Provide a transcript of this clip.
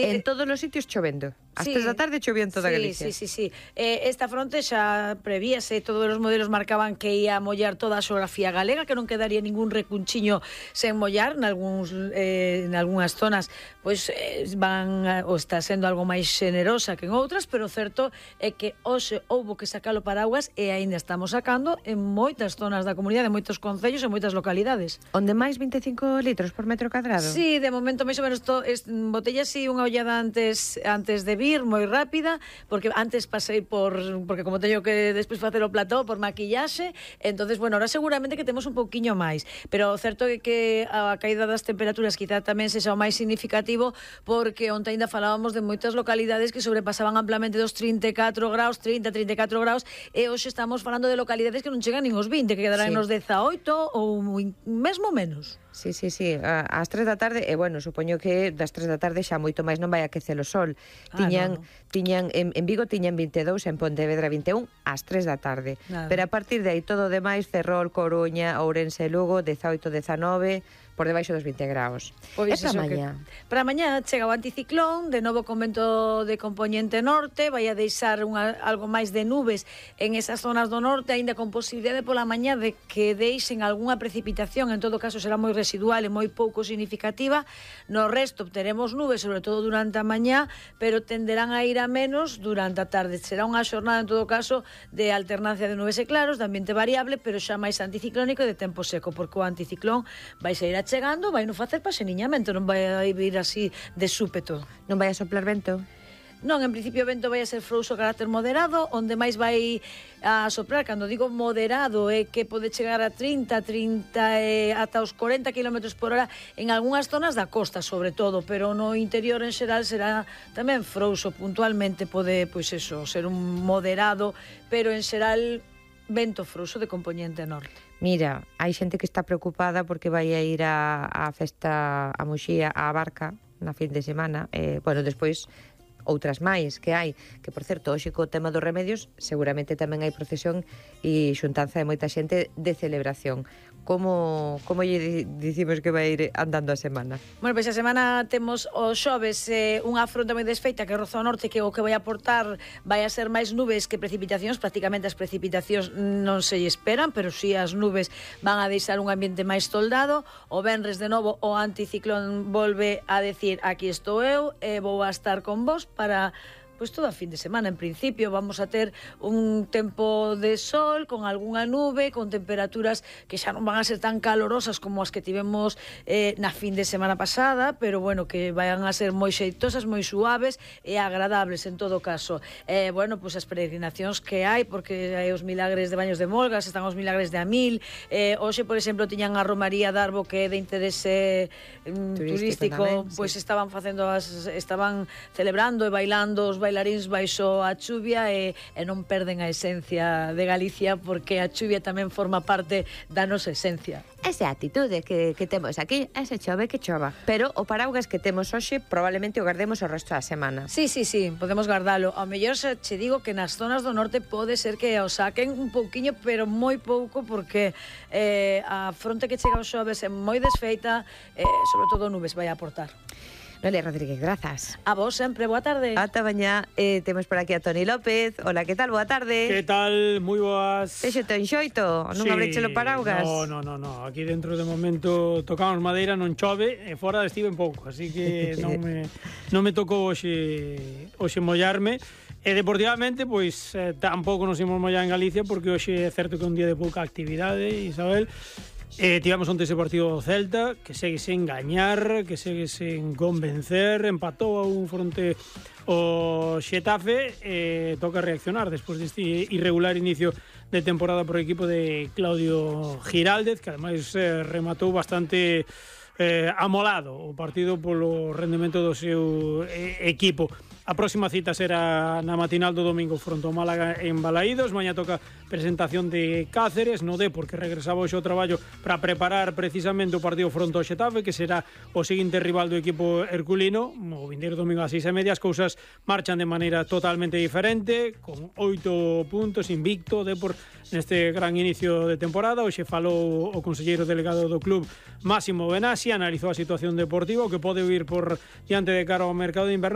En todos os sitios chovendo. As 3 da tarde chovía en toda Galicia. Sí. Esta fronte xa prevíase, todos os modelos marcaban que ia mollar toda a xeografía galega, que non quedaría ningún recunchiño sen mollar, nalgúnas zonas pois van ou está sendo algo máis xenerosa que en outras, pero o certo é que hoxe houbo que sacar o paraguas e aínda estamos sacando en moitas zonas da comunidade, en moitos concellos e moitas localidades. Onde máis 25 litros por metro cadrado? Sí, de momento máis ou menos botella así unha ollada antes de vir, moi rápida, porque antes pasei porque como teño que despois facer o plató por maquillaxe, entonces, bueno, ahora seguramente que temos un pouquiño máis, pero o certo é que a caída das temperaturas quizá tamén sexa o máis significativo, porque onte ainda falábamos de moitas localidades que sobrepasaban amplamente dos 34 graus, 34 graus, e hoxe estamos falando de localidades que non chegan nin os 20, que quedarán nos 18 ou mesmo menos. Sí, ás 3 da tarde, e bueno, supoño que das 3 da tarde xa moito máis non vai aquecer o sol. Tiñan en Vigo tiñan 22, en Pontevedra 21 ás 3 da tarde. Pero a partir de aí todo o demais, Ferrol, Coruña, Ourense e Lugo 18, 19, por debaixo dos 20 graus. Pois e para mañá? Para mañá chega o anticiclón, de novo con vento de compoñente norte, vai a deixar algo máis de nubes en esas zonas do norte, aínda con posibilidade pola mañá de que deixen algunha precipitación, en todo caso será moi residual e moi pouco significativa. No resto obteremos nubes, sobre todo durante a mañá, pero tenderán a ir a menos durante a tarde. Será unha xornada, en todo caso, de alternancia de nubes e claros, de ambiente variable, pero xa máis anticiclónico e de tempo seco, porque o anticiclón vai ir chegando, vai non facer paseniñamento, non vai a vir así de súpeto. Non vai a soplar vento? Non, en principio o vento vai a ser frouxo a carácter moderado, onde máis vai a soprar, cando digo moderado, é que pode chegar a 30 e ata os 40 km por hora en algunhas zonas da costa, sobre todo, pero no interior en xeral será tamén frouxo, puntualmente pode, pois eso, ser un moderado, pero en xeral vento frouxo de compoñente norte. Mira, hai xente que está preocupada porque vai a ir a festa a Muxía, a Barca, na fin de semana. Bueno, despois outras máis que hai, que por certo, hoxe co tema dos remedios, seguramente tamén hai procesión e xuntanza de moita xente de celebración. Como lle dicimos que vai ir andando a semana? Bueno, pois a semana temos o xoves unha fronte moi desfeita que roza o norte, que o que vai aportar vai a ser máis nubes que precipitacións. Prácticamente as precipitacións non se esperan, pero si as nubes van a deixar un ambiente máis toldado. O venres de novo o anticiclón volve a decir: aquí estou eu e vou a estar con vos para pois todo a fin de semana. En principio vamos a ter un tempo de sol con algunha nube, con temperaturas que xa non van a ser tan calorosas como as que tivemos na fin de semana pasada, pero bueno, que vayan a ser moi xeitosas, moi suaves e agradables en todo caso. Bueno, pois as peregrinacións que hai, porque hai os milagres de Baños de Molgas, están os milagres de Amil, hoxe, por exemplo, tiñan a Romaría de Arbo, que é de interese turístico, pois estaban celebrando e bailando os bailaríns baixo a chuvia e non perden a esencia de Galicia, porque a chuvia tamén forma parte da nosa esencia. Esa actitude que temos aquí, ese chove que chova. Pero o paraugas que temos hoxe probablemente o guardemos o resto da semana. Sí, podemos guardalo. Ao mellor xa che digo que nas zonas do norte pode ser que o saquen un pouquiño, pero moi pouco, porque a fronte que chega aos xoves é moi desfeita, sobre todo nubes vai a aportar. Noelia Rodríguez, grazas. A vos sempre, boa tarde. Ata mañá. Temos por aquí a Toni López. Hola, que tal? Boa tarde. Que tal? Moi boas. Texo ten xoito? Non abrechelo paraugas? No. Aquí dentro de momento tocamos madeira, non chove, e fora estiven pouco, así que non me tocou hoxe mollarme. E deportivamente, pois, tampouco nos imos mollar en Galicia, porque hoxe é certo que é un día de pouca actividade, Isabel. Tivamos onte ese partido do Celta, que segue sen gañar, que segue sen convencer, empatou a un fronte o Xetafe, toca reaccionar despois deste irregular inicio de temporada por equipo de Claudio Giraldez, que ademais rematou bastante amolado o partido polo rendemento do seu equipo. A próxima cita será na matinal do domingo fronte ao Málaga en Balaídos. Mañá toca presentación de Cáceres no Depor, que regresaba hoxe ao traballo para preparar precisamente o partido fronte ao Xetafe, que será o seguinte rival do equipo herculino. O vindeiro domingo ás 6:30 as cousas marchan de maneira totalmente diferente, con 8 puntos, invicto Depor neste gran inicio de temporada. Hoxe falou o conselleiro delegado do club, Máximo Benassi, analizou a situación deportiva, o que pode vir por diante de cara ao mercado de inverno.